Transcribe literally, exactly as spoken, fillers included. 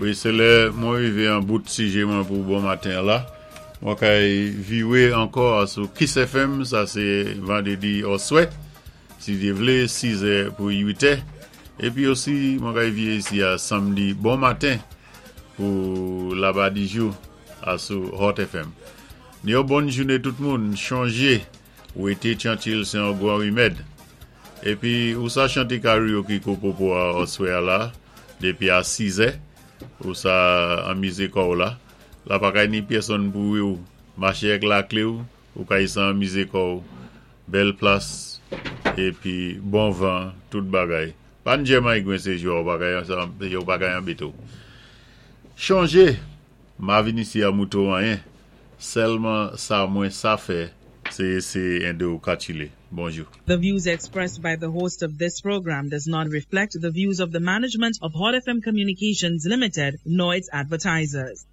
Wi, sé lè mwen wivé an bout sijé mwen pou bon maten la. Mwen kay viwé ankò sou Kiss F M, sa sé vandédi oswè, si Dye vlé, siz è pou uit è. Épi osi, mwen kay viwé isi a sanmdi bon maten pou Labadijou a sou Hot F M. Ni yon bon jouné tout moun, chonjé, wété tyankil sé yon gwan wimèd. Épi, ou sa chanté karaoke Kopopo a oswè a la, dépi a siz è, ou sa anmizé kò'w la. La pa kay ni pèsonn pou ou maché ak laklé ou, ou kay sa anmizé kò'w. Bèl plas, épi bon van, tout bagay. Pa njèman gwen sé jou, ou pa kay ou pa kay anbété ou. Chonjé, ma vin isi a mouto anyen, sèlman sa mwen sa fè, sé éséyé édé ou katchilé. Bonjou. The views expressed by the host of this program does not reflect the views of the management of Hot F M Communications Limited nor its advertisers.